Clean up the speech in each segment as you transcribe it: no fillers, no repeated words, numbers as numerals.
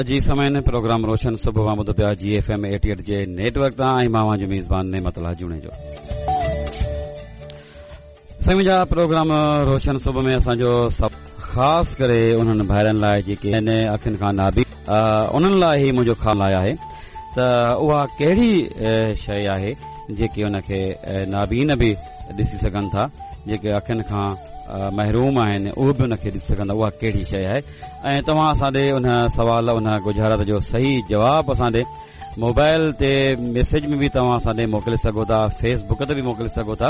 جي سامعين پروگرام روشن صبح اوهان ٻڌو پيا جي ايف ايم 88 جي نيٽ ورڪ تان ۽ مان اوهان جو ميزبان نعمت الله جوڻيجو. سائين منهنجا پروگرام روشن صبح ۾ اسان جو سڀ خاص ڪري انهن ڀائرن لاء جيڪي آهن اکين کان نابين انهن لاء هي منهنجو خاص لاء آهي ته اها ڪهڙي شيء آهي جيڪي ان کي نابين به ڏسي سگهن ٿا جيڪي اکين کان محروم آهن اهي به ان کي ڏسي سگهن ٿا اها ڪهڙي شيء آهي ۽ توهان اسان ڏي ان سوال ان ڳجهارت جو صحيح جواب اسان ڏي موبائل تي ميسيج ۾ به توهان اسان ڏي موڪلي سگهو ٿا فيس بڪ تي به موڪلي سگهو ٿا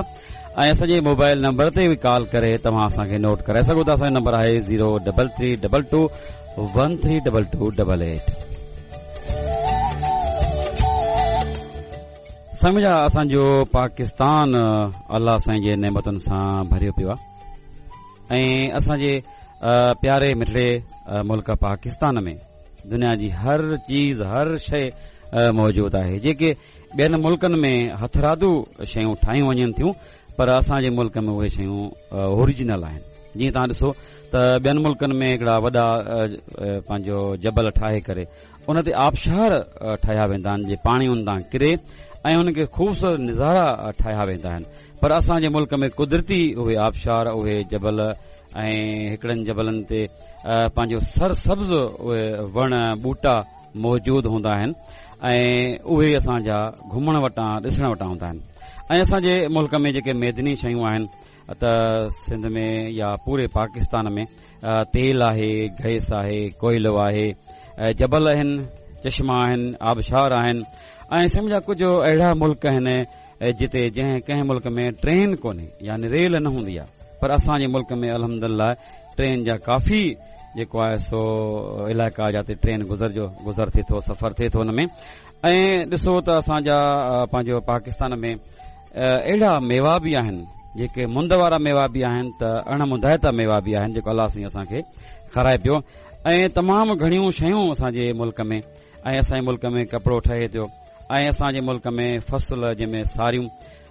۽ اسان جي موبائل نمبر تي به ڪال ڪري توهان اسان کي نوٽ ڪرائي سگهو ٿا اسان جو نمبر آهي zero double three double two one three double two double eight. سائين منهنجا اسان جو پاڪستان الله سائين جي نعمتن سان ڀريو پيو آهي ۽ اسان جي پياري مٺڙي ملڪ پاڪستان ۾ دنيا جي هر چيز هر شيء موجود آهي جيڪي ٻين ملڪن ۾ هٿرادو شيون ٺاهيون وڃن ٿيون پر اسان جي ملڪ ۾ اهي شيون اوريجنل آهن جيئن توهان ڏسو ته ٻين ملڪن ۾ هڪڙا وڏا پنهنجو جبل ٺاهي ڪري ان تي آبشار ٺاهيا ويندا آهن جي پاڻي ان تان ڪري ۽ ان کي خوبصورت نظارا ٺاهيا ويندا آهن پر اسان جي ملڪ ۾ قدرتي اهي آبشار اهي جبل ۽ هڪڙن جبلن تي پنهنجو سر سبز اهي وڻ ٻوٽا موجود هوندا آهن ۽ اهي اسان جا گهمڻ وٽان ڏسڻ وٽان هوندا آهن ۽ اسان جي ملڪ ۾ جيڪي معدني شيون آهن ته سنڌ ۾ يا پوري پاڪستان ۾ تيل آهي گئس آهي ڪوئلو آهي جبل آهن چشما آهن آبشار آهن ۽ سمجھا ڪجهه اهڙا ملڪ آهن جتي جنهن ڪنهن ملڪ ۾ ٽرين ڪونهي يعني ريل نه هوندي آهي پر اسان جي ملڪ ۾ الحمدلله ٽرين جا ڪافي جيڪو آهي سو علائقا جاتي ٽرين گذر جو گذر ٿئي ٿو سفر ٿئي ٿو ان ۾ ۽ ڏسو ته اسان جا پنهنجو پاڪستان ۾ اهڙا ميوا به آهن جيڪي مند وارا ميوا به آهن ته اڻ مندائتا ميوا به آهن جيڪو الله سائين اسان کي کارائي پيو ۽ تمام گهڻيون شيون اسان جي ملڪ ۾ ۽ اسان جي ملڪ ۾ ڪپڙو ٺهي ٿو ۽ اسان جي ملڪ ۾ فصل جنهن ۾ ساريون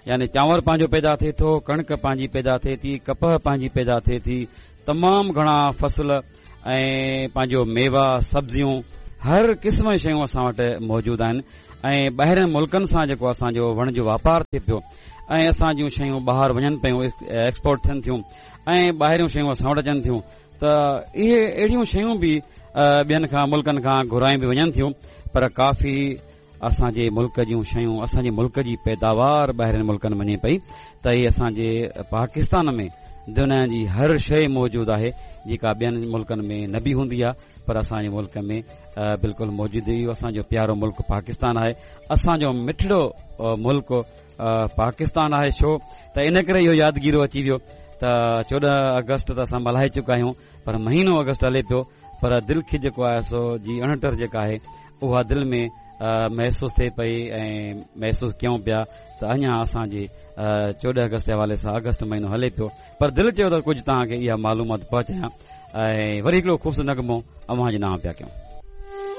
يعني چانور پنهنجو پيدا ٿئي ٿو، ڪڻڪ پنهنجي پيدا ٿئي ٿي، ڪپهه پنهنجي پيدا ٿئي ٿي، تمام گهڻا فصل ۽ پنهنجو ميوا، سبزيون هر قسم جون شيون اسان وٽ موجود آهن ۽ ٻاهرين ملڪن سان جيڪو اسان جو وڻج واپار ٿئي پيو ۽ اسان جون شيون ٻاهر وڃن پيون ايڪسپورٽ ٿين ٿيون ۽ ٻاهريون شيون اسان وٽ اچن ٿيون ته اهي اهڙيون شيون به ٻين کان ملڪن کان گهرايون به وڃن ٿيون پر ڪافي اسان جي ملڪ جون شيون اسان جي ملڪ جي پيداوار ٻاهرين ملڪن وڃي پئي ته هي اسان جي پاڪستان ۾ دنيا جي هر شيء موجود آهي جيڪا ٻين ملڪن ۾ نه به هوندي آهي پر اسان جي ملڪ ۾ بلڪل موجود اهو اسان جو پيارو ملڪ پاڪستان آهي اسان جو مٺڙو ملڪ پاڪستان آهي ڇو ته ان ڪري اهو يادگيرو اچي ويو ته 14 آگسٽ ته اسان ملهائي چڪا آهيون پر مهينو آگسٽ هلي پيو پر دل کي جيڪو آهي سو جي اڻٽر جيڪا آهي اها دل ۾ محسوس ٿئي پئي ۽ محسوس ڪيون پيا ته اڃا اسان جي 14 آگسٽ جي حوالي سان آگسٽ مهينو هلي پيو پر دل چيو ته ڪجهه توهان کي اها معلومات پهچايان ۽ وري هڪڙو خوبصورت نغمو اوهان جي نانء پيا ڪيون.